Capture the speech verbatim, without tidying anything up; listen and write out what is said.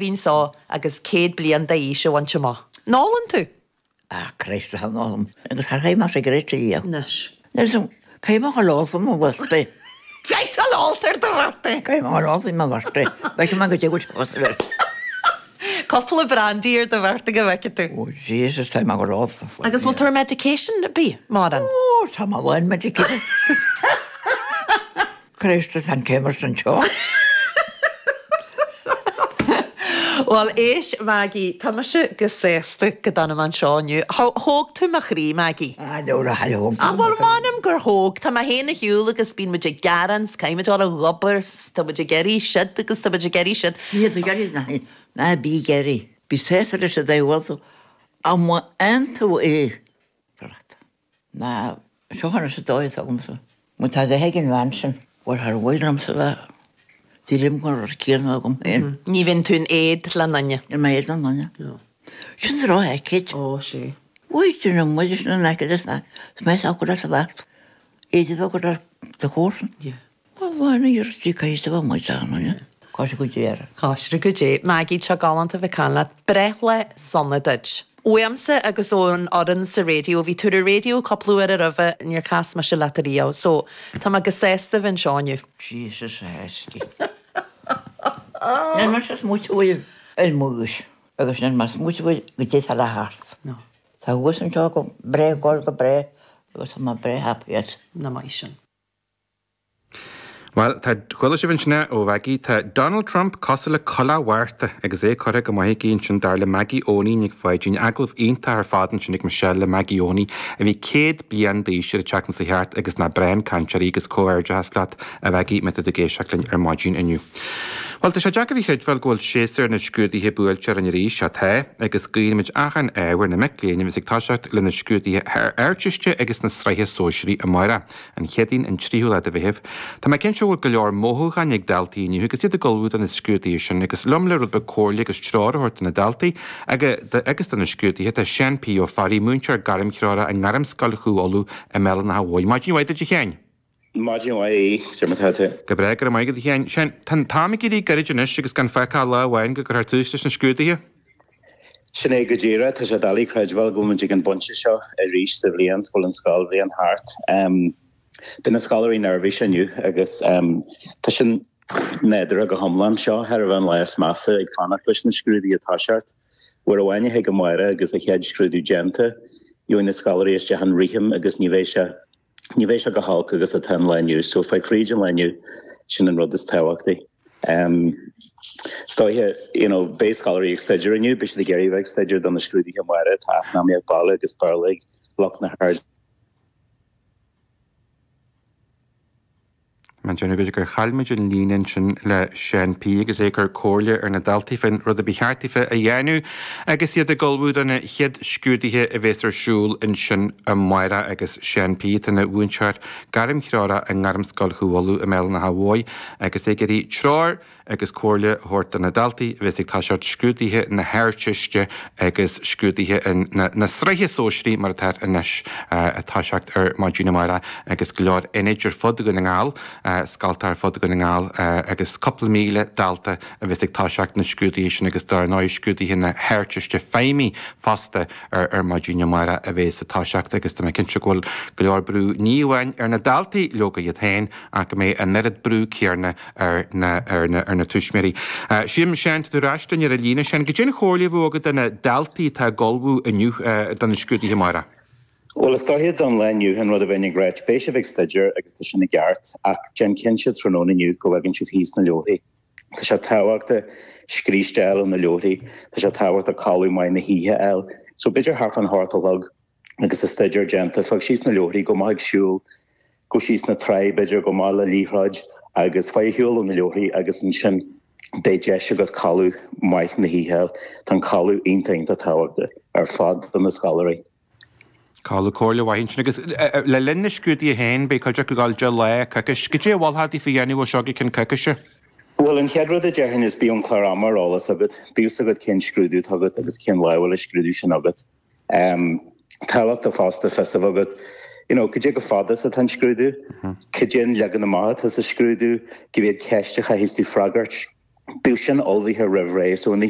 Bhíonn agus céad bliain d'aois a bhaint amach. An ólann tú? Ah, Christ an ólaim agus thar chéim sé gréite í. Anois. Cé go lá mo bhurte. Cé áltar do bhurte. Cé lá mo bhurte, Be ma go dé Cúpla brandy ar do bhurte go bhfeice tú. Ó Jesus tá go rá. Agus bhfuil tú ar medication bí mar an? Ó tá má bhain medication. Christ an céimar san seo. Well éist Maggie, Tá mise go sásta go dana man seo inniu. Thóg tú mo chroí Maggie. Ah, leora thóg. An bhfuil m'anam gur thóg Tá mé féin a shiúl agus bíonn muid ag gearán caithfimid dul ag obair, tá muid ag iarraidh siad agus tá muid ag iarraidh siad. Ní ná bí ag iarraidh. Bí sásta leis a bhfuil an an tú é. Ná seohanna sa dóigh agamsa. Mu tá go héigen bhean sin, bhfuil thar bhfuil sa bheith. Dí gur céarna agam féin. Ní bhíonn tú in éad le duine. Ar mé éad le duine. Sin rá aicid. Ó sé. Uí sin an muid sin an aicid is mé go sa bheart. Éidir go de chósan. Bhain tí caiiste muid an Cá go dé. Cáisre go dé. Maggie tá galánta bheith caint leat breithlá sona duit. Uaimse agus ón fhoireann sa raidió, bhí tú ar raidió cúpla uair roimhe níor chas mise leat riamh, so tá mé go sásta bheith anseo inniu. Jesus heski. Níl mar smuúil ar múis agus níl mar smuúil go dé le thart. Tá thuas an seo go breá gáil go breá agus tá breá happy as. Na maith sin. Well, tá chuala sibh ansin ó Mhaggie, tá Donald Trump cosúil le culaith Mhárta agus é curtha go maith aici ansin dar le Maggie Eoiní Nic Pháidín agallamh iontach ar fad ansin ag Michelle le Maggie Eoiní a bhí céad bliain d'aois ar an tseachtain seo thart agus nach breá an cainteoir í agus comhghairdeas leat a Mhaggie má tá tú ag éisteacht linn ar maidin inniu. Well tá sé deacair a chreidbheáil go bhfuil séasúr na scrúduithe buailte orainn arís atá agus guímid achan ádh ar na mic léinn a bheas ag toiseacht le na scrúduithe Ardteiste agus na sraithe sóisearaí amárach an Chéadaoin an tríú lá de Mheitheamh. Tá mé cinnte go bhfuil go leor mothúcháin ag daltaí inniu agus iad ag ullmhú do na scrúduithe sin agus liom le rud beag comhairle agus treoir a thabhairt do na daltaí agus do na scrúduithe tá Seán P. Ó Fearraigh múinteoir gairmthreorach i nGairmscoil Chú Uladh i mBéal an Átha Bhuí. Maidin mhaith duit a Sheáin. Maidin mhaith sir má tá. Go breá go maith a Sheáin. Seán, tá an t-am ag éirí gairid anois agus gan fágtha ach lá amháin go gcuirfear tús leis na scrúduithe. Sin é go díreach tá sé doiligh a chreidbheáil go bhfuil muid ag an bpointe seo arís sa bhliain go bhfuil an scoilbhliain thart. Um, Beidh na scoláirí neirbhíseach inniu agus um, tá sin nádúrtha go hiomlán seo thar a bheith an lá is measa ag fanacht leis na scrúduithe ag toiseacht. Uair amháin a thig amárach agus a chéad scrúdú déanta, gheobhaidh na scoláirí isteach an rithim agus ní bheidh sé ní bheidh sé chomh holc agus atá an lá inniu, so faigh fríd an lá inniu sin an rud is tábhachtaí. Um, Is dóiche you know, beidh scoláirí ag staidéar inniu, beidh siad ag iarraidh bheith ag staidéar do na scrúduithe amárach tá eacnamaíocht baile agus Béarla ag lucht na hArd. Mar déanamh b'fhéidir gur chaill muid an líne ansin le Seán P agus é ag cur comhairle ar na daltaí faoin rud a ba cheart daofa a dhéanamh agus iad ag ullmhú do na chéad scrúduithe a bheas ar siúl ansin amárach agus Seán P atá ina mhúinteoir gairmthreorach i nGairmscoil Chú Uladh i mBéal an Átha Bhuí agus é ag iarraidh treoir agus comhairle a thabhairt do na daltaí a bheas ag toiseacht scrúduithe na hArdteiste agus scrúduithe na sraithe sóisearaí mar atá anois ag toiseacht ar maidin amárach agus go leor ionaid ar fud Dhún na nGall, scolta ar fud Dhún na nGall agus cúpla míle dalta a bheas ag toiseacht na scrúduithe sin agus dar ndóigh scrúduithe na hArdteiste Feidhmí fosta ar ar maidin amárach a bheas ag toiseacht agus tá mé cinnte go bhfuil go leor brú ní amháin ar na daltaí leoga iad féin ach go mbeidh an oiread brú céanna ar na ar na ar na tuismitheoirí. Sílim Seán tá tú ar ais linn ar an líne sin, goidé an chomhairle a bheadh agat do na daltaí atá ag ullmhú inniu do na scrúduithe amárach. Well is dóiche don lá inniu an rud a bheinn ag ráit, beidh sibh ag staidéar agus tá sin i gceart ach déan cinnte tráthnóna inniu go bhfaigheann sibh thíos na leabharthaí. Tá sé tábhachtach scríste a fháil ó na leabharthaí, tá sé tábhachtach codladh maith na hoíche a fháil. So b'fhéidir thart fán hocht a chlog agus an staidéar déanta, faigh síos na leabharthaí, gabh amach ag siúl, gabh síos na trá b'fhéidir gabh amach le liathróid agus faigh ar shiúl ó na leabharthaí agus ansin beidh deis agat codladh maith na hoíche a fháil. Tá an codladh iontach iontach tábhachtach ar fad do na scoláirí. Codladh comhairle mhaith ansin agus le linn na scrúduithe féin beidh cuid acu ag dul deich lá, coicís. Goidé a mholfá daofa a dhéanamh ó seo go ceann coicíse? Bhuel, an chéad rud a déarfainn is bíodh an clár ama ar eolas agat. Bíodh fhios agat cén scrúdú atá agat agus cén lá a bhfuil an scrúdú sin agat. Um, tábhachtach fosta fios a bheith agat, you know, cad é chomh fada is atá an scrúdú, cad é an leagan amach atá sa scrúdú, cé mhéad ceist a chaithfidh tú freagairt. Bíodh sin ullmhaithe roimh ré, so an oíche